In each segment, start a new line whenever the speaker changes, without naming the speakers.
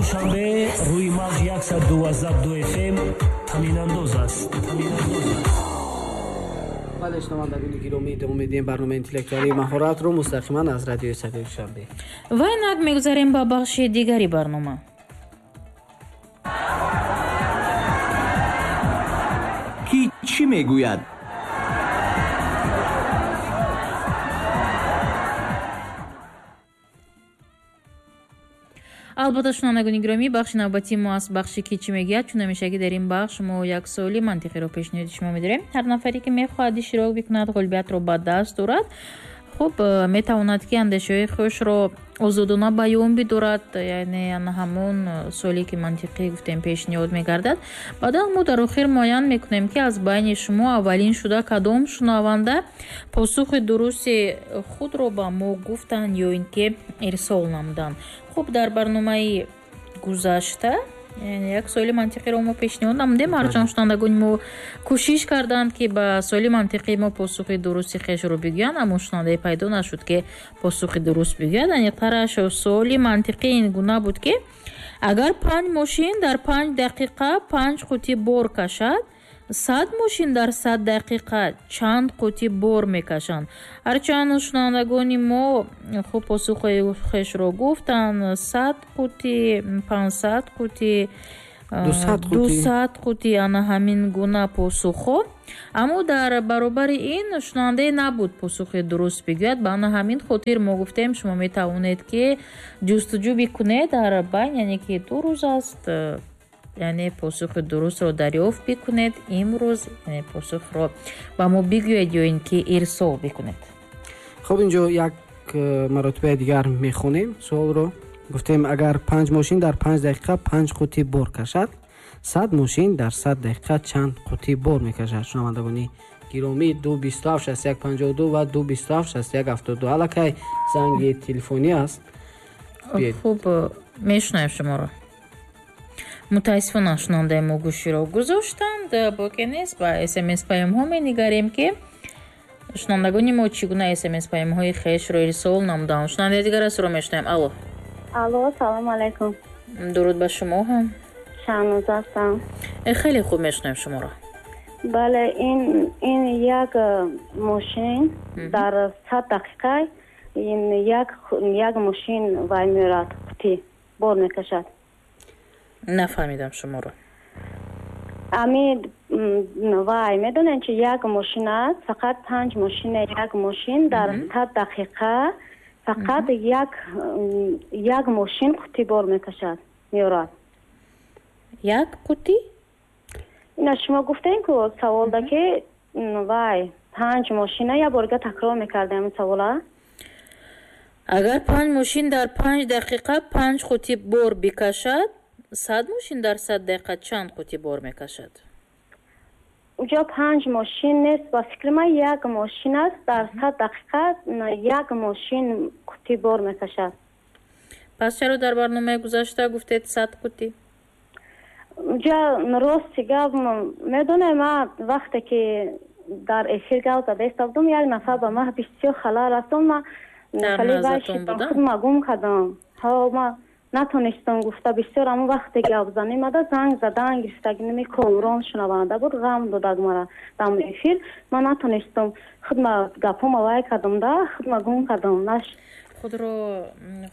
Душанбе рӯи мавҷ 112 FM танинандоз аст.
Бале, шунавандагони гиромӣ, идома медиҳем барномаи интеллектуалии маҳоратро мустақиман аз радиои Садои Душанбе.
Ва инак мегузарем ба бахши дигари барнома.
Ки чӣ мегӯяд?
Албатта, шунавандагони гиромӣ, бахши навбатии мо аст бахши ки чӣ мегӯяд. Чун ҳамешагӣ дар ин бахш мо як суоли мантиқиро пешниҳоди шумо медорем. Ҳар нафаре ки мехоҳад иштирок бикунад, ғолибиятро ба даст дорад, хуб, метавонад ки андешаҳои хушро озодона баён бидорад, яъне ҳамон суоле ки мантиқӣ гуфтем пешниҳод мегардад. Баъдан мо дар охир муайян мекунем, ки аз байни шумо аввалин шуда кадом шунаванда посухи дурусти худро ба мо гуфтанд ё ин ки ирсол намуданд. Хуб, дар барномаи гузашта як суоли мантиқиро мо пешниҳод намудем. Ҳарчанд шунавандагони мо кӯшиш карданд, ки ба суоли мантиқии мо посухи дурусти хешро бигӯянд, аммо шунавандае пайдо нашуд, ки посухи дуруст бигӯяд. Аниқтараш, суоли мантиқӣ ин гуна буд, ки агар 5 мошин дар 5 дақиқа 5 қутӣ бор кашад, 100 мошин дар 100 дақиқа чанд қутӣ бор мекашанд? Ҳарчанд шунавандагони мо хуб посухи хешро гуфтанд: 100 қутӣ, 500 қутӣ, 200 қутӣ, ана ҳамин гуна посухҳо. Аммо дар баробари ин шунавандае набуд посухи дуруст бигӯяд. Ба ана ҳамин хотир мо гуфтем, шумо метавонед, ки ҷустуҷӯ бикунед дар байн, яъне ки 2 рӯз аст, яъне посухи дурустро дарёфт бикунед имрӯз, яъне посухро ба мо бигӯед ё ин ки ирсол бикунед.
Хуб, инҷо як маротибаи дигар мехонем суолро. Гуфтем, агар 5 мошин дар 5 дақиқа 5 қутӣ бор кашад, 100 мошин дар 100 дақиқа чанд қутӣ бор мекашад? Шунавандагони гиромӣ, 2 27 61 52 ва 2 27 61 72. Аллакай занги телефонӣ аст.
Хуб, мешунавем шуморо. Мутаассифона, шунавандаи мо гӯширо гузоштанд. Боке нест, ба СМС паёмҳо менигарем, ки шунавандагони мо чӣ гуна СМС паёмҳои хешро ирсол намуданд. Шунавандаи дигар астро мешунавем. Алло.
Алло, салому алайкум.
Дуруд ба шумо ҳам.
Шаҳноза ҳастам.
Хеле хуб мешунавем шуморо.
Бале, ин як мошин дар 100 дақиқа ин як мошин вай меорад, қутӣ бор мекашад.
Нафаҳмидам шуморо.
Ами вай, медонед чи, як мошин аст, фақат панҷ мошина, як мошин дар 100 дақиқа фақат як мошин қутӣ бор мекашад, меорад.
Як қутӣ?
Ина шумо гуфтем ку саволда, ки вай панҷ мошина, як борга такрор мекардем савола.
Агар панҷ мошин дар 5 дақиқа 5 қутӣ бор бикашад, 100 мошин дар 100 дақиқа чанд қутӣ бор мекашад?
Уҷо панҷ мошин нест, ба фикри ман як мошин аст, дар 100 дақиқа як мошин қутӣ бор мекашад.
Пас чаро дар барномаи гузашта гуфтед 100 қутӣ?
Уҷа рости гап, медонем, ман вақте ки дар эфир гап зада истодам, як нафар ба ман бисёр халал расон, ман худма гум кардам. Ҳо, ман натонистам гуфта бисёр. Ҳамон вақте гап занем ада занг задан гирифтагинами Комрон шунаванда буд, ғам додаг мара дар эфир. Ман натонистам, худма гапҳома вай кардам да, худма гум кардам наш.
Худро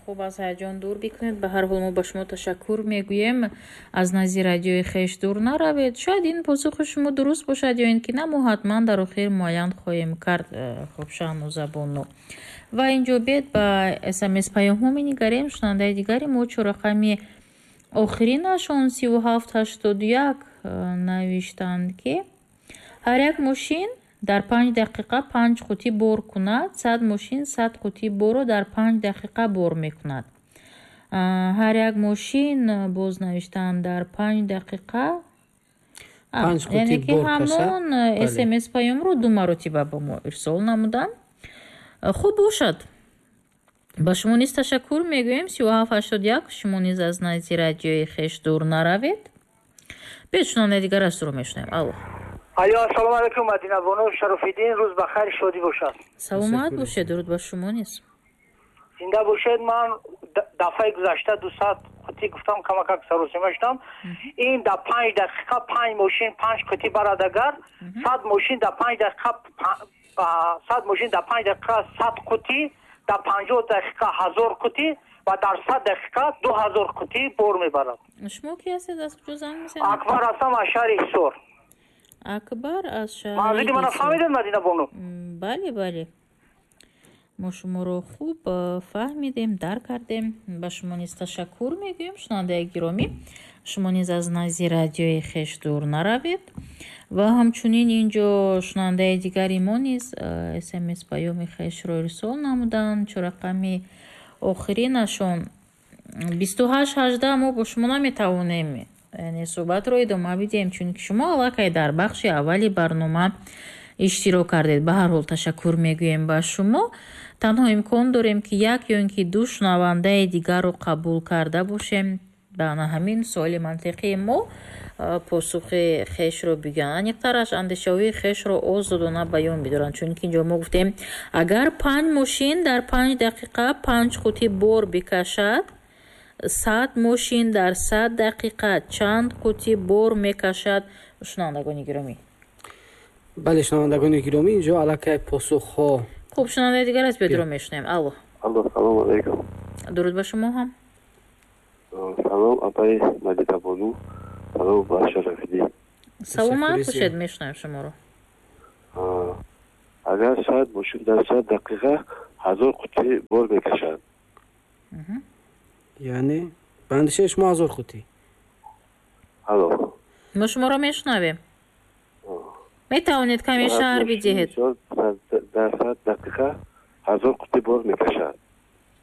хуб аз ҳаяҷон дур бикунед. Ба ҳар ҳол, мо ба шумо ташаккур мегӯем. Аз назди радиои хеш дур наравед. Шояд ин посухи шумо дуруст бошад ё ин ки на, мо ҳатман дар охир муайян хоҳем кард. Хуб, Шаҳнозабону, ва инҷо бед ба СМС паёмҳо менигарем. Шунавандаи дигари мо, чорақами охиринашон 3781, навиштанд, ки ҳар як мошин дар 5 дақиқа 5 қутӣ бор кунад, 100 мошин 100 қутӣ борро дар 5 дақиқа бор мекунад. Ҳар як мошин, боз навиштанд, дар 5 дақиқа, яъне ки ҳамон СМС паёмро ду маротиба ба мо ирсол намуданд. Хуб бошад, ба шумо низ ташаккур мегӯем. 3781, шумо низ аз назди радиои хеш дур наравед. Биёед, шунавандаи дигар астро мешунавем. Алло.
Алло, ассалому алайкум, Мадина бону, Шарофиддин, рӯз ба хайр, шодӣ бошад.
Саломат бошед, дуруд ба шумо низ.
Зинда бошед. Ман дафъаи гузашта 200 қутӣ гуфтам, камакак саросима шудам. Ин дар 5 дақиқа 5 мошин 5 қутӣ барад, агар 100 мошин дар 5 дақиқа 100 мошин дар 5 дақиқа 100 қутӣ, дар 50 дақиқа 1000 қутӣ ва дар 100 дақиқа 2000 қутӣ бор мебарад.
Шумо ки ҳастед, аз куҷо занг мезанед?
Акбар ҳастам аз шаҳри Ҳисор.
Акбар аз шаҳри
Манзили мана фаҳмидед, Мадина бону?
Бале, бале, мо шуморо хуб фаҳмидем, дарк кардем. Ба шумо низ ташаккур мегӯем. Шунавандаи гиромӣ, шумо низ аз назди радиои хеш дур наравед. Ва ҳамчунин инҷо шунавандаи дигари мо низ смс паёми хешро ирсол намуданд. Чорақами охиринашон 2818. Мо бо шумо наметавонем, яъне суҳбатро идома бидиҳем, чунки шумо аллакай дар бахши аввали барнома иштирок кардед. Ба ҳар ҳол ташаккур мегӯем ба шумо. Танҳо имкон дорем, ки як ё ин ки ду шунавандаи дигарро қабул карда бошем, ба ана ҳамин суоли мантиқии мо посухи хешро бигӯянд, аниқтараш андешаҳои хешро озодона баён бидоранд. Чунки инҷо мо гуфтем, агар панҷ мошин дар 5 дақиқа панҷ қутӣ бор бикашад, 100 мошин дар 100 дақиқа чанд қутӣ бор мекашад, шунавандагони гиромӣ?
Бале, шунавандагони гиромӣ, инҷо аллакай посухҳо
Хуб, шунавандаи дигар аст, бедро мешунавем. Алло.
Алло, салому алайкум.
Дуруд ба шумо ҳам.
Салом, апаи Мадинабону, салом ба Шарафиддин.
Саломат бошед, мешунавем шуморо.
Агар 100 мошин дар 100 дақиқа 1000 қутӣ бор мекашад.
Яъне ба андешаи шумо 1000 қутӣ?
Алло.
Мо шуморо мешунавем, метавонед каме шарҳ бидиҳед.
Дар 100 дақиқа 1000 қутӣ бор мекашад.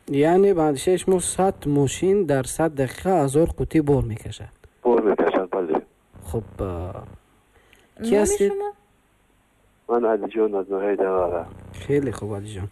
Яъне ба андешаи шумо 100 мошин дар 100 дақиқа 1000 қутӣ бор мекашад?
Бор мекашад, бале.
Хуб, ки ҳастед?
Ман Алиҷон аз ноҳияи Данғара.
Хеле хуб, Алиҷон,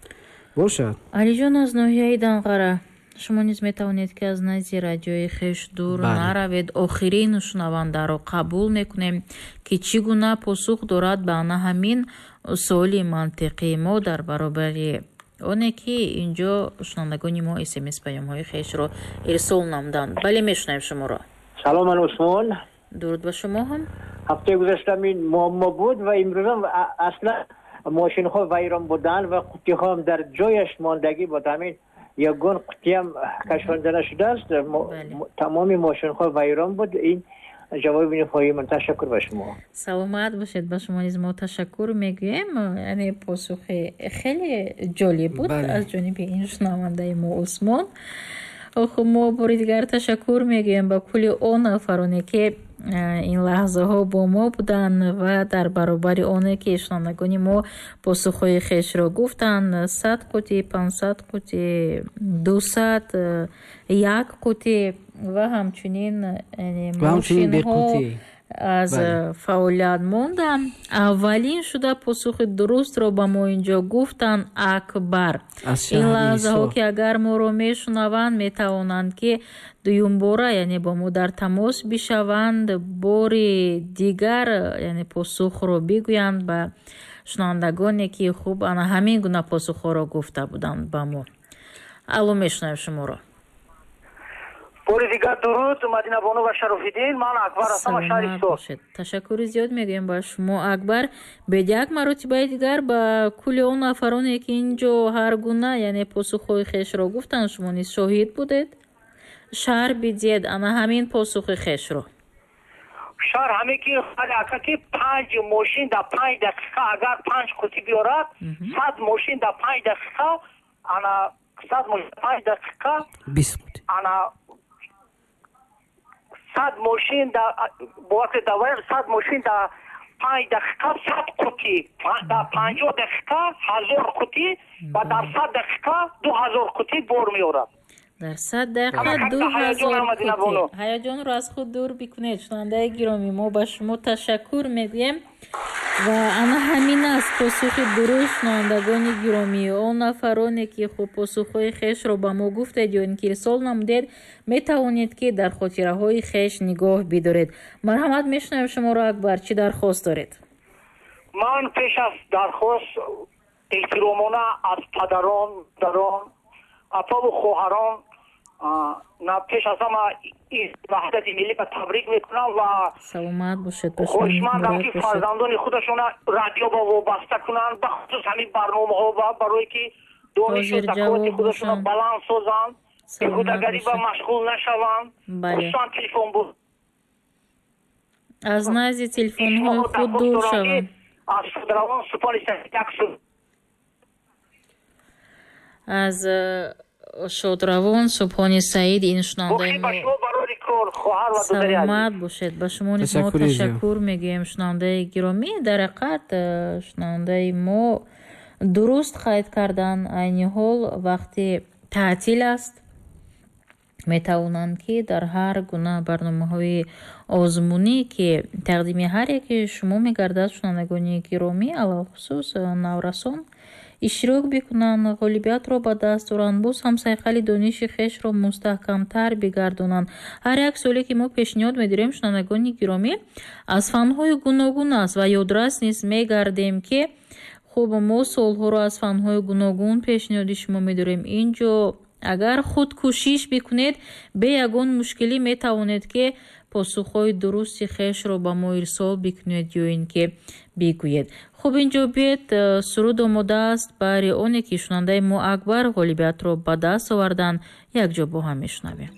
бошад.
Алиҷон аз ноҳияи Данғара, шумо низ метавонед, ки аз назди радиои хеш дур наравед. Охирин шунавандаро қабул мекунем, ки чӣ гуна посух дорад ба ана ҳамин суоли мантиқии мо, дар баробари оне ки инҷо шунавандагони мо смс паёмҳои хешро ирсол намуданд. Бале, мешунавем шуморо.
Салом, ман Усмон.
Дуруд ба шумо ҳам.
Ҳафтаи гузашта ин муаммо буд ва имрӯзам аслан мошинҳо вайрон буданд ва қуттиҳоам дар ҷояш мондагӣ буд. Ҳамин ягон қуттиам кашонда нашудааст, тамоми мошинҳо вайрон буд. Ин ҷавоби ниҳоии ман. Ташаккур ба шумо.
Саломат бошед, ба шумо низ мо ташаккур мегӯем. Яъне посухи хеле ҷолиб буд аз ҷониби ин шунавандаи мо Усмон. Хуб, мо бори дигар ташаккур мегӯем ба кулли он нафароне, ки ин лаҳзаҳо бо мо буданд ва дар баробари оне ки шунавандагони мо посухҳои хешро гуфтанд: 100 қутӣ, 500 қутӣ, 200, як қутӣ ва ҳамчунин мошинҳо аз фаъолият монданд. Аввалин шуда посухи дурустро ба мо инҷо гуфтанд Акбар. Ин лаҳзаҳо, ки агар моро мешунаванд, метавонанд, ки дуюмбора, яъне бо мо дар тамос бишаванд, бори дигар, яъне посухро бигӯянд ба шунавандагоне, ки хуб ана ҳамин гуна посухҳоро гуфта буданд ба мо. Алло, мешунавем шуморо.
Бори дигар дуруд, Мадинабону ва Шарофиддин. Ман Акбар ҳастам аз шаҳри Ҳисор.
Ташаккури зиёд мегӯем ба шумо, Акбар. Бед як маротибаи дигар ба кулли он нафароне, ки ин ҷо ҳар гуна, яъне посухҳои хешро гуфтанд, шумо низ шоҳид будед, шарҳ бидиҳед ана ҳамин посухи хешро.
Шарҳ ҳаме ки ака, ки панҷ мошин дар 5 дақиқа агар панҷ қутӣ биёрад, 100 мошин дар 5 дақиқа, ана 100 мошин 5 дақиқа
20 қутӣ.
Ана 100 мошин да бовар, 100 мошин дар 5 дақиқа 100 қутӣ, дар 50 дақиқа 1000 қутӣ ва дар 100 дақиқа 2000 қутӣ бор меорад.
Дар 100 дақиқа 2000 қутӣ. Ҳаяҷонро аз худ дур бикунед, шунавандаи гиромӣ. Мо ба шумо ташаккур мегӯем ва ана ҳамин аст посухи дуруст. Шунавандагони гиромӣ, он нафароне, ки хуб посухҳои хешро ба мо гуфтед ё ин ки ирсол намудед, метавонед, ки дар хотираҳои хеш нигоҳ бидоред. Марҳамат, мешунавем шуморо, Акбар, чӣ дархост доред?
Ман пеш аз дархост эҳтиромона аз падарон, дарон Апаву хоҳарон на пеш аз ҳама ваҳдати миллиро табрик мекунам ва
саломат бошед.
Хоҳишмандам ки фарзандони худашона радио ба вобаста кунанд, бахусус ҳамин барномаҳо барое ки донишу заковати худашона баланд созанд, беҳудагарӣ ба машғул нашаванд, хусусан телефон буд.
Аз назди телефонҳои худ дур шаванд.
Аз шодравон Субҳони як
аз шодравон Субҳони Саид ин шунавандаи мо. Саломат бошед. Ба шумо низ мо ташаккур мегӯем, шунавандаи гиромӣ. Дар ҳақиқат шунавандаи мо дуруст қайд кардан, айни ҳол вақти таътил аст, метавонанд ки дар ҳар гуна барномаҳои озмунӣ, ки тақдими ҳар яке шумо мегардад, шунавандагони гиромӣ, алалхусус наврасон, иштирок бикунанд, ғолибиятро ба даст оранд, боз ҳам сайқали дониши хешро мустаҳкамтар бигардонанд. Ҳар як суоле ки мо пешниҳод медорем, шунавандагони гиромӣ, аз фанҳои гуногун аст ва ёдрас низ мегардем, ки хуб мо суолҳоро аз фанҳои гуногун пешниҳоди шумо медорем. Ин ҷо агар худ кӯшиш бикунед, бе ягон мушкилӣ метавонед ки посухҳои дурусти хешро ба мо ирсол бикунед ё ин ки бигӯед. Хуб, инҷо биед, суруд омода аст. Баҳри оне ки шунандаи мо Акбар ғолибиятро ба даст оварданд, якҷо бо ҳам мешунавем.